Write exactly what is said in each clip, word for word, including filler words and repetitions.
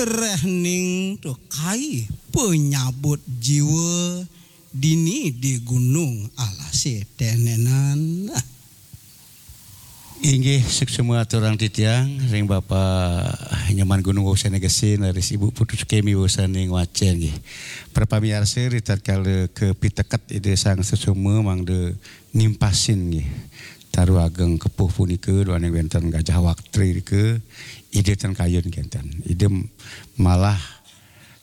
Rehning tukai penyabut jiwa dini di gunung alasé tenenan. Inggih, suksma aturang titiang ring Bapa Nyoman Gunung Wosana Gesin, raris Ibu Putu Sukemi Wosana ing Wacén nggih. Para pamiarsa, ritatkala kapiteket Ida Sang Sesoma mangda nimpasin nggih. Taru ageng kepuh punika duaning wénten Gajah Waktri nika, Ida ten kayun kénten. Ida malah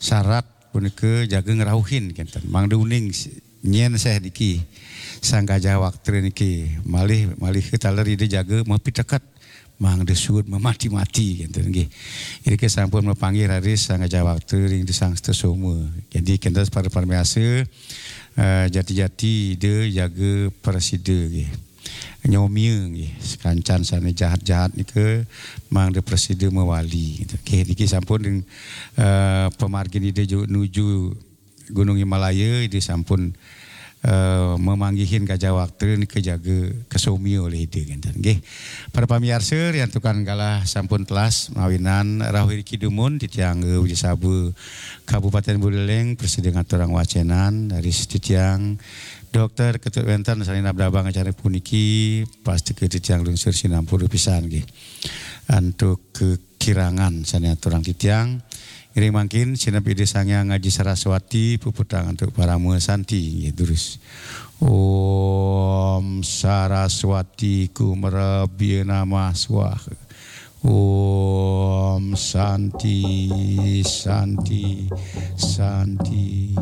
sarat punika jaga ngrauhin kénten. Mangda uning nyén séh niki Sang Gajah Waktri niki malih malih taler Ida jaga mapiteket mangda suud mamati-mati kénten nggih. Irika sampun mapanggih raris Sang Gajah Waktri ring Ida Sang Sesoma. Jadi kénten para pamiarsa, eh, jati-jati Ida jaga prasida nggih. Nyomia nggih, sakancan sané jahat-jahat nika mangda prasida mawali. Nggih, niki sampun ring, eh, pamargin Ida ju-, nuju Gunung Himalaya, Ida sampun, eh, mamanggihin Gajah Waktri nika jaga kasomia olih Ida kénten. Nggih. Para pamiarsa, riantukan galah sampun telas mawinan rauh iriki dumun titiang Angga Wijasaba Kabupatén Buleleng prasida ngaturang wacénan, raris titiang Dokter Ketut wénten sané nabdabang acara puniki, pastika titiang lungsur sinampura pisan nggih. Antuk kekirangan sané aturang titiang, ngiring mangkin sineb Ida Sang Hyang Aji Saraswati puputang antuk parama santi nggih durus. Om Saraswati Kumarabhya Namah Swaha. Om Santi, Santi, Santi.